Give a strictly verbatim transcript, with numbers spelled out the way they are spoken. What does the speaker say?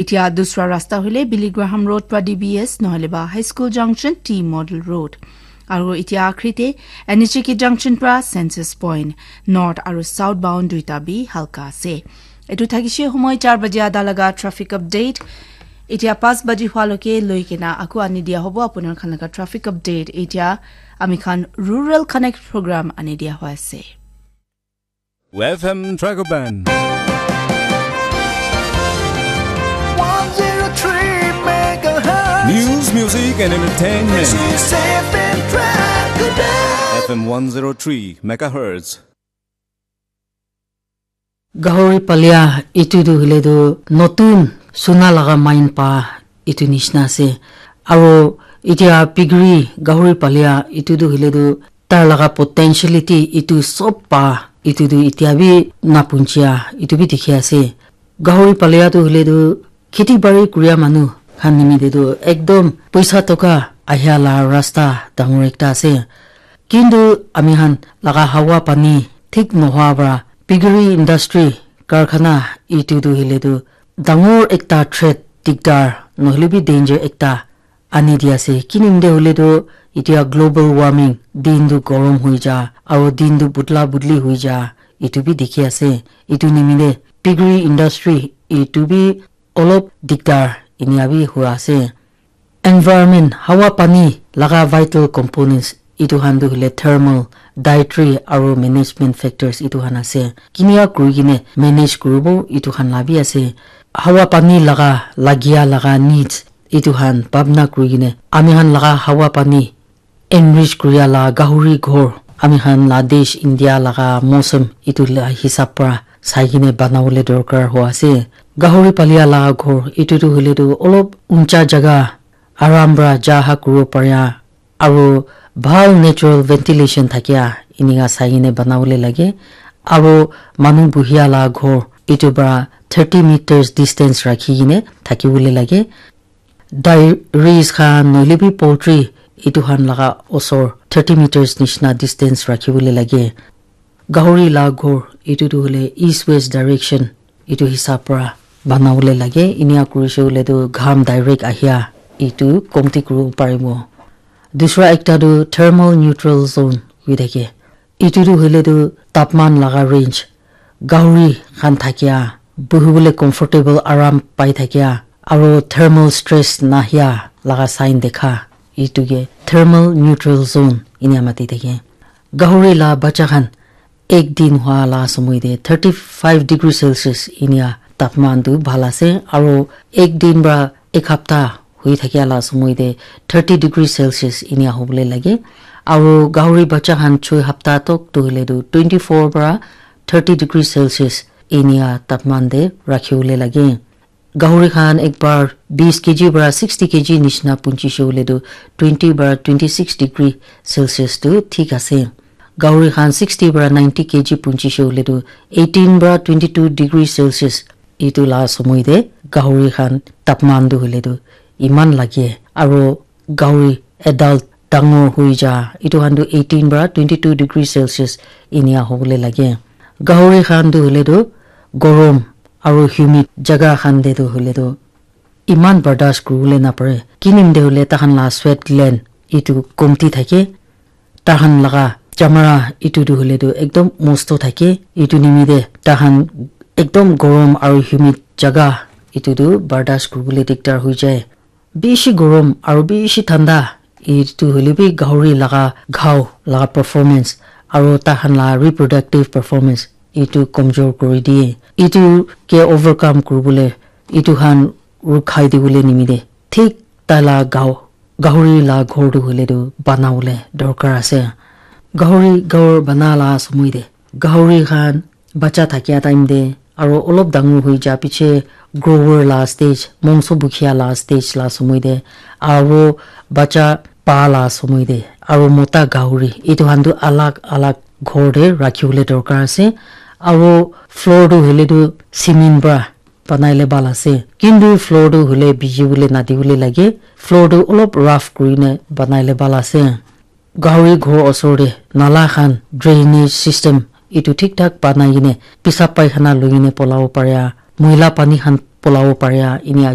Itia dusra rasta hoile Billy Graham Road pra D B S nohole ba High School Junction T Model Road. Aru itia akhri te N H A K Junction pra Census Point, North aru Southbound duita bi halka ase. Etu thakishe homoi char baje ada laga traffic update. Itia pas baji hua loke loi kena aku ani dia hobo apunar khan laga traffic update. Itia ami khan Rural Connect program ani dia hua ase. F M Dragon Band. One zero three megahertz. News, music, and entertainment. This is F M Dragon Band. F M one zero three megahertz. Gahori palia itu tu hile tu notun suna laga main pa itu nishna ase. Aro itia pigiri gahori palia itu tu hile tu tar laga potentiality itu sob pa itu tu itia bi napunchia itu bi dikhi ase. Gahori palia tu hile tu kheti bari kuria manu khan nimite tu ekdom poisa toka ahia la rasta dangor ekta ase. Kintu ami khan laga hawa pani thik nohoa para piggery industry karkhana itu tu hile tu dangor ekta threat, dikdar nohole bi danger ekta ani di ase. Kinimde hole tu itia global warming, din tu gorom hui ja aro din tu butla butli hui ja itu bi dikhi ase. Itu nimide piggery industry itu bi olop dikdar inia bi hua ase. Environment, hawa pani laga vital components itu khan tu hile thermal, dietary aro management factors itu khan ase. Kinia kuri kene manage kuribo itu khan la bi ase. Hawa pani laga lagia laga needs itu khan bhabna kuri kene ami khan laga hawa pani enrich kuria la gahuri ghor ami khan la desh India laga mosam itu la hisab para sai kene banabole dorkar hua ase. Gahuri palia la ghor itu tu hile tu olop uncha jaga aram para ja ha kuribo paria aro bhal natural ventilation thakia inika sai kene banabole lage. Aro manu buhia la ghor itu para thirty meters distance rakhi kene thakibole lage. Dairies khan nohole bi poultry itu khan laga osor thirty meters nishina distance rakhi bole lage. Gahori la ghor itu tu hole east west direction itu hisab para bana bole lage. Inia kurishe hoile tu gham direct ahia itu komti kuribo paribo. Dusra ekta tu thermal neutral zone hoi thake. Itu tu hoile tu tapman laga range, gahuri khan thakia, buhibole comfortable aram pai thakia, aro thermal stress nahia laga sign dekha, itu ke thermal neutral zone inia mati thake. Gahuri la bacha khan ek din hua la somoi te thirty five degree Celsius inia tapman tu bhal ase, aro ek din pra ek hapta hui thakia la somoi te thirty degree Celsius inia hobole lage. Aro gahuri bacha khan choi hapta tok tu hoile tu twenty four pra thirty degree Celsius inia tapman te rakhi bole lage. Gahuri khan ek bar bis kg pra sixty kg nishina punchi she hoile tu twenty pra twenty six degree Celsius tu thik ase. Gahuri khan sixty pra ninety kg punchi she hoile tu eighteen pra twenty two degree Celsius itu la somoi te gahuri khan tapman tu hoile tu iman lage, aro gahuri adult dangor hui ja itu khan tu eighteen pra twenty two degree Celsius inia hobole lage. Gahuri khan tu hoile tu gorom aro humid jaga khan te tu hoile tu iman bardas kuribole napare. Kinim te hoile takhan la sweat gland itu komti thake. Takhan laga chamara itu tu hoile tu ekdom mosto thake. Itu nimite takhan ekdom gorom aro humid jaga itu tu bardas kuribole dikdar hui jai. Bishi gorom aro bishi thanda itu hoile bi gahuri laga ghao laga performance aro takhan la reproductive performance itu komjor kuri diye. Itu ke overcome kuribole itu khan rukhai dibole nimite thik taila gao, gahuri la ghor tu hoile tu banabole dorkar ase. Gahuri ghor bana la somoi te gahuri khan bacha thakia time te aro olop dangor hui ja piche grower la stage, mongso bukhia la stage la somoi te aro bacha pa la somoi te aro mota gahuri itu khan tu alag alag ghor te rakhi bole dorkar ase. Aro floor tu hoile tu cement pra banaile bhal ase. Kintu floor tu hoile biji bole nadi bole lage. Floor tu olop rough kurine banaile bhal ase. Gahuri ghor osor te nala khan drainage system itu thik thak banai kene pisap paikhana loi kene polabo paria, moila pani khan polabo paria inia